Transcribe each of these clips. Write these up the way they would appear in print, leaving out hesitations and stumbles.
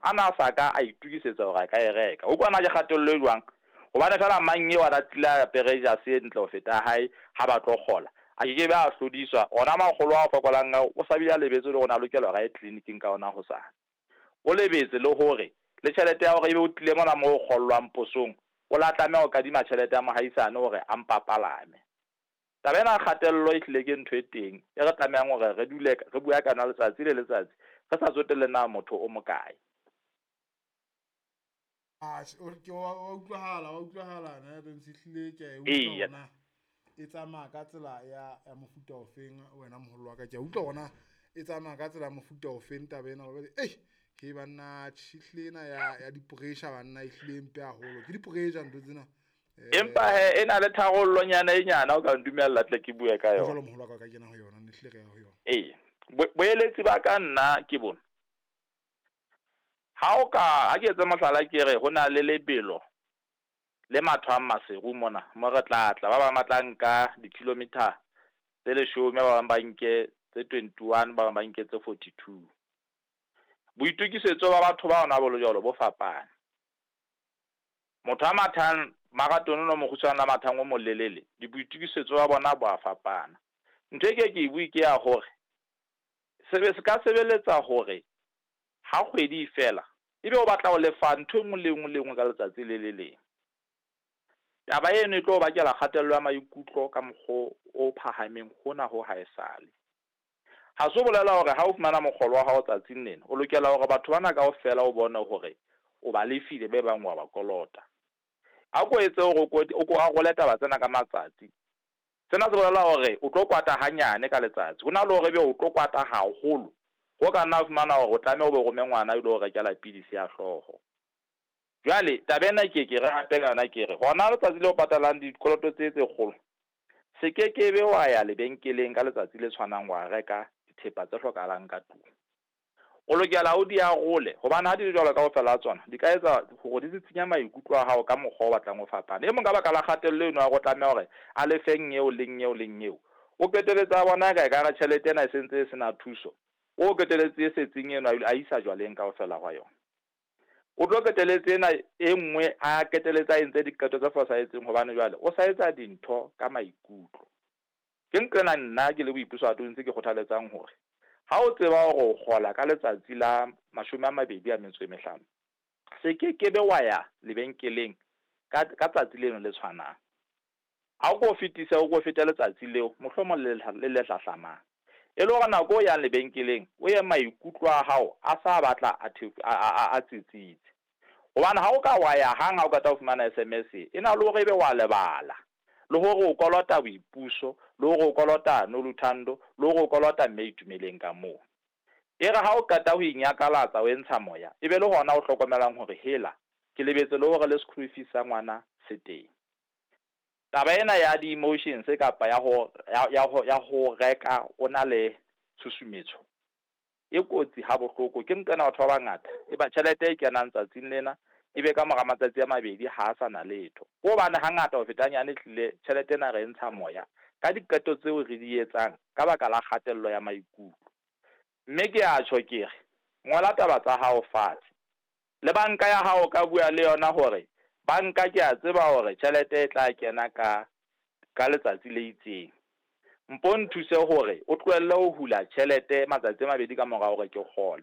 a na sa ka a itokisetsa hore a ka e reka. O kwana ke kgatello e jwang? Hobane feela mang eo a na tlile a apere jase e ntle ho feta ya hae ha ba tlo kgola, a ke ke be a hlodiswa. Ona makgolo a fokolang ao o sa bile a lebetse le hore o ne a lokela hore a ye tleliniking ka ona hosane. O lebetse le hore le tjhelete ya hore ebe o tlile mona moo ho kgollwang posong, o la tlameha ho kadima tjhelete ya mohaisane hore a mpa palame. Taba ena ya kgatello ehlile ke ntho e teng e re tlamehang hore re dule re bua ka yona letsatsi le letsatsi re sa tsotelle na motho o mokae. Atjhe, o ke wa wa utlwahala, wa utlwahala ne Donsi ehlile ke a e utlwa hore na e tsamaya ka tsela ya ya mofuta ofeng wena moholo wa ka. Ke a utlwa hore na e tsamaya ka tsela ya mofuta ofeng taba ena hobane ei he banna tjhe ehlile ena ya ya di-pressure banna ehlile e mpe haholo. Ke di-pressure ntho tsena. Empa he e na le tharollonyana e nyane o ka ntumella tle ke bue ka yona. Jwalo moholo wa ka o ka kena ho yona, ne hlile re ya ho yona. Ee, boeletsi ba ka nna ke bona. Ha o ka, ha ke etse mohlala ke re ho na le lebelo le mathwang Maseru mona mo re tla tla, ba bang ba tla nka di-kilometer tse 10, ba bang ba nke tse 21, ba bang ba nke tse 42. Boitokisetso ba batho ba ona bo le jwalo bo fapane. Motho a mathang marathon o mokgutshwane a mathang o molelele, di boitokisetso ba bona bo a fapana. Ntho e ke ke e bue ke ya hore sebe se ka sebeletsa hore ha kgwedi e fela ebe o batla ho lefa ntho e nngwe le nngwe le nngwe ka letsatsi le le leng. Taba eno e tlo bakela kgatello ya maikutlo ka mokgwa o phahameng hona ho haesale. Ha se bolela hore ha o fumana mokgolo wa hao tsatsing lena, o lokela hore batho bana kaofela o bone hore o ba lefile be bang wa ba kolota. A ko etse hore o ko arole taba tsena ka matsatsi. Sena se bolela hore o tlo kwata hanyane ka letsatsi. Ho na le hore ebe o tlo kwata haholo, ho ka nna fumana hore o tlameha o be rome ngwana o ilo rekela pidisi ya hlooho. Jwale taba ena ke ke re hape ka yona ke re hona letsatsi le o patalang dikoloto tse tse kgolo, se ke ke be wa ya lebenkeleng ka letsatsi le tshwanang wa reka dithepa tse hlokahalang ka tlung. O lokela o di arole hobane ha di le jwalo kaofela ha tsona di ka etsa hore di sisinya maikutlo a hao ka mokgwa o batlang o fapane. E mong ka baka la kgatello eno ya hore o tlameha hore a lefe eo le eo le eo, o qetelletse a bona eka ekare tjhelete ena e sentse e sena thuso. O qetelletse e setseng eno a isa jwaleng kaofela hwa yona. O tlo qetelletse ena e nngwe a qetelletse a entse diqeto tse fosahetseng hobane jwale o sa etsa dintho ka maikutlo. Ke nqena nna ke le Boipuso Atonse ke kgothaletsang hore ha o tseba hore o kgola ka letsatsi la 25, se ke ke be wa ya lebenkeleng ka ka tsatsi leno le tshwanang. Ha o ko fetise, o ko fete letsatsi leo, mohlomong le le le hlahlamang. E le hore nako o yang lebenkeleng, o ye maikutlo a hao a sa batla a a tsitsitse. Hobane ha o ka wa ya hang ha o qeta ho fumana SMS e na le hore ebe wa lebala, le hore o kolota Boipuso, le hore o kolota Noluthando, le hore o kolota Mme Itumeleng ka moo. E re ha o qeta ho inyakalatsa o entsha moya, e be le hona o hlokomelang hore hela, ke lebetse le hore le school fees sa ngwana se teng. Taba ena ya di-emotions kapa ya ho ya ya ho ya ho reka o na le tshusumetso e kotsi ha bohloko. Ke nqena batho ba bangata e ba tjhelete e kenang tsatsing lena ebe ka mora matsatsi a mabedi ha a sa na letho. Ke hobane hangata ho feta hanyane ehlile tjhelete ena re e ntsha moya ka diqeto tseo re di etsang ka baka la kgatello ya maikutlo. Mme ke a tjho ke re, ngola taba tsa hao fatshe. Le banka ya hao o ka bua le yona hore banka ke a tseba hore tjhelete e tla kena ka ka letsatsi le itseng. Mpo nthuse hore o tlohelle ho hula tjhelete matsatsi a mabedi ka mora hore ke kgole.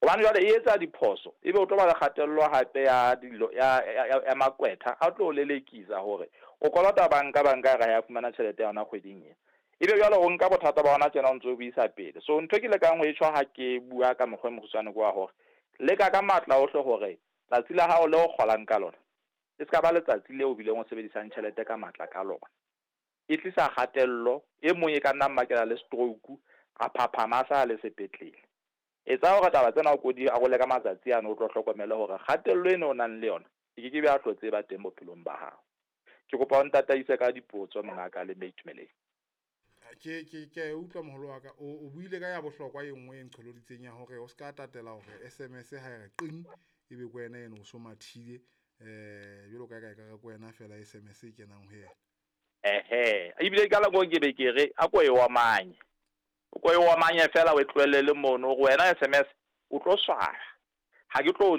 Hobane jwale e etsa diphoso, ebe o tlo ba le kgatello hape ya dilo ya ya ya maqwetha a tlo o lelekisa hore o kolota banka, banka e re ha ya fumana tjhelete ya yona kgweding ena. Ebe jwale o nka bothata ba hona tjena o ntso o bo isa pele. So ntho e ke lekang ho e tjho ha ke bua ka mokgwa e mokgutshwane ke wa hore leka ka matla ohle hore tsatsi la hao le o kgolang ka lona e ska ba letsatsi leo o bileng o sebedisang tjhelete ka matla ka lona. E tlisa kgatello, e mong e ka nna mmakela le stroke, a phaphama a sa le sepetlele. Etsa hore taba tsena o ko di arole ka matsatsi ano, o tlo hlokomele hore kgatello eno o nang le yona e ke ke be ya hlotse e ba teng bophelong ba hao. Ke kopa o ntataise ka dipotso mongaka le Mme Itumeleng. Ke a e utlwa moholo wa ka. O buile ka ya bohlokwa e nngwe e nqholoditseng ya hore o ska tatela hore SMS ha e re qing ebe ke wena eno o so mathile, jwalo ka ka ekare ke wena feela SMS e kenang ho yena. Ehe, ebile ka nako ke be ke re a ko e omanye. O ko e omanye feela o e tlohelle le mono hore wena SMS o tlo swaya. Ha ke tlo